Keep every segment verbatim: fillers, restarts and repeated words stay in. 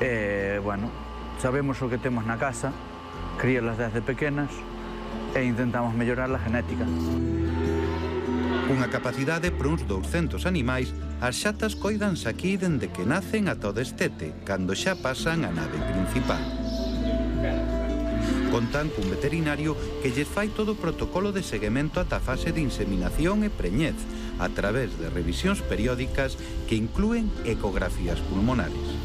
E, bueno, sabemos o que temos na casa, críalas desde pequenas e intentamos mellorar a genética. Cunha capacidade por uns douscentos animais, as xatas coidanse aquí dende que nacen ata o destete, cando xa pasan a nave principal. Contan cun veterinario que lles fai todo o protocolo de seguimento ata a fase de inseminación e preñez, a través de revisións periódicas que inclúen ecografías pulmonares.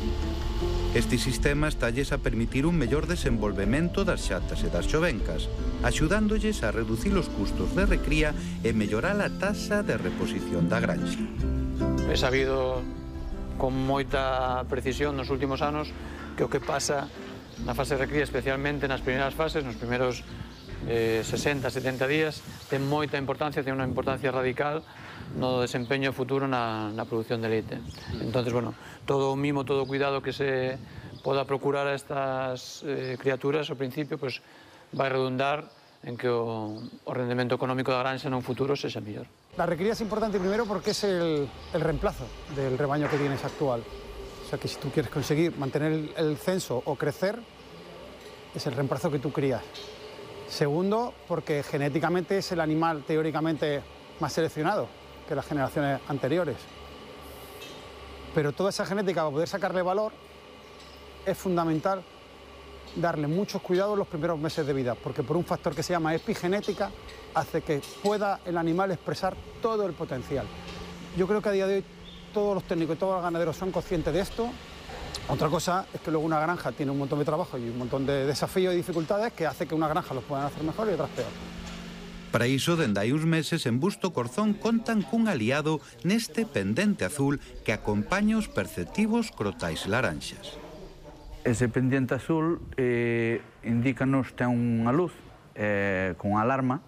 Este sistema estalles a permitir un mellor desenvolvemento das xatas e das xovencas, axudándolles a reducir os custos de recría e mellorar a taxa de reposición da granxa. He sabido con moita precisión nos últimos anos que o que pasa na fase de recría, especialmente nas primeiras fases, nos primeiros eh, sesenta, setenta días, ten moita importancia, ten unha importancia radical no desempeño futuro na, na produción de leite. Entonces, bueno, todo o mimo, todo o cuidado que se poda procurar a estas eh, criaturas ao principio, pues, vai redundar en que o, o rendemento económico da granxa no futuro sexa mellor. La recría es importante primero porque es el, el reemplazo del rebaño que tienes actual. O sea que si tú quieres conseguir mantener el, el censo o crecer, es el reemplazo que tú crías. Segundo, porque genéticamente es el animal teóricamente más seleccionado que las generaciones anteriores. Pero toda esa genética, para poder sacarle valor, es fundamental darle muchos cuidados los primeros meses de vida, porque por un factor que se llama epigenética, hace que pueda el animal expresar todo el potencial. Yo creo que a día de hoy todos los técnicos y todos los ganaderos son conscientes de esto. Otra cosa es que luego una granja tiene un montón de trabajo y un montón de desafíos y dificultades que hace que una granja los puedan hacer mejor y otras peor. Para iso, dende hai uns meses, en Busto Corzón contan cun aliado neste pendente azul que acompaña os perceptivos crotais laranxas. Ese pendiente azul eh, indícanos, ten unha luz eh, con alarma,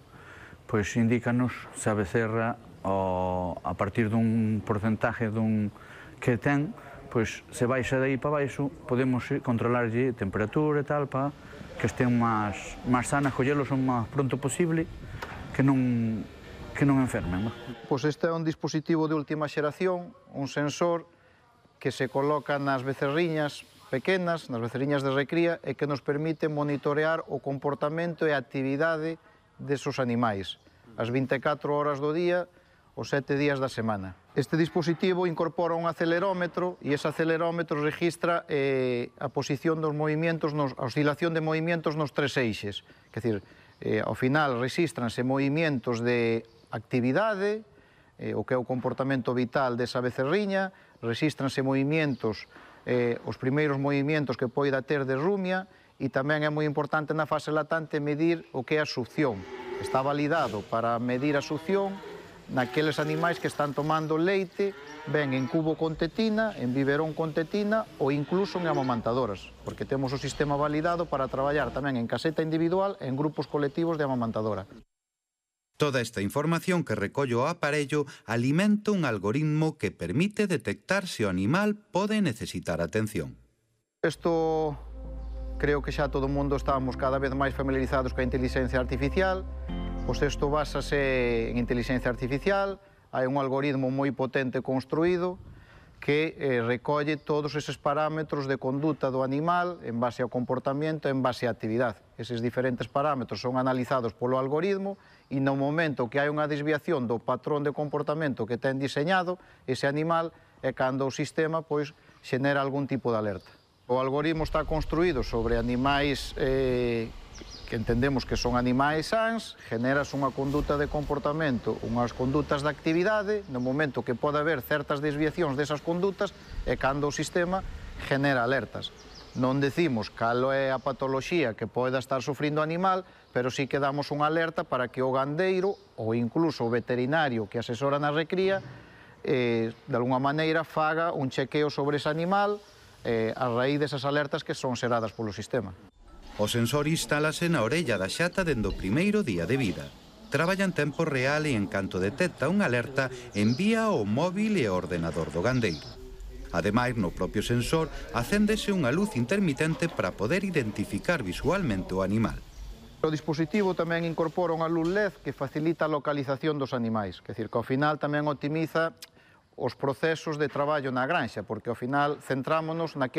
pois indícanos se a becerra o, a partir dun porcentaje dun que ten, pois se baixa de aí para baixo, podemos controlarlle temperatura e tal, para que estén máis, máis sanas, collelos o máis pronto posible, que non, que non enfermen. Pois este é un dispositivo de última xeración, un sensor que se coloca nas becerriñas pequenas, nas becerriñas de recría, e que nos permite monitorear o comportamento e a actividade desos animais, as vinte e catro horas do día, os sete días da semana. Este dispositivo incorpora un acelerómetro e ese acelerómetro registra eh, a posición dos movimentos, nos, a oscilación de movimentos nos tres eixes. Quer dizer, eh, ao final registranse movimentos de actividade, eh, o que é o comportamento vital desa becerriña, registranse movimentos, eh, os primeiros movimentos que poida ter de rumia, e tamén é moi importante na fase latente medir o que é a succión. Está validado para medir a succión naqueles animais que están tomando leite, ben en cubo con tetina, en biberón con tetina ou incluso en amamantadoras, porque temos o sistema validado para traballar tamén en caseta individual e en grupos colectivos de amamantadora. Toda esta información que recolle o aparello alimenta un algoritmo que permite detectar se o animal pode necesitar atención. Isto creo que xa todo o mundo estamos cada vez máis familiarizados coa inteligencia artificial. Pois isto básase en inteligencia artificial, hai un algoritmo moi potente construído que eh, recolle todos eses parámetros de conduta do animal en base ao comportamento, en base á actividade. Eses diferentes parámetros son analizados polo algoritmo e no momento que hai unha desviación do patrón de comportamento que ten diseñado ese animal é cando o sistema pois xenera algún tipo de alerta. O algoritmo está construído sobre animais eh, que entendemos que son animais sans, generas unha conduta de comportamento, unhas condutas de actividade, no momento que pode haber certas desviacións desas condutas, é cando o sistema genera alertas. Non decimos cal é a patoloxía que poida estar sufrindo o animal, pero sí que damos unha alerta para que o gandeiro ou incluso o veterinario que asesora na recría eh, de alguna maneira faga un chequeo sobre ese animal eh, a raíz desas alertas que son xeradas polo sistema. O sensor instálase na orella da xata dende o primeiro día de vida. Traballa en tempo real e en canto detecta unha alerta, envía ao móvil e ao ordenador do gandeiro. Ademais, no propio sensor, acéndese unha luz intermitente para poder identificar visualmente o animal. O dispositivo tamén incorpora unha luz L E D que facilita a localización dos animais, que, decir, que ao final tamén optimiza os procesos de traballo na granxa, porque ao final centrámonos naquele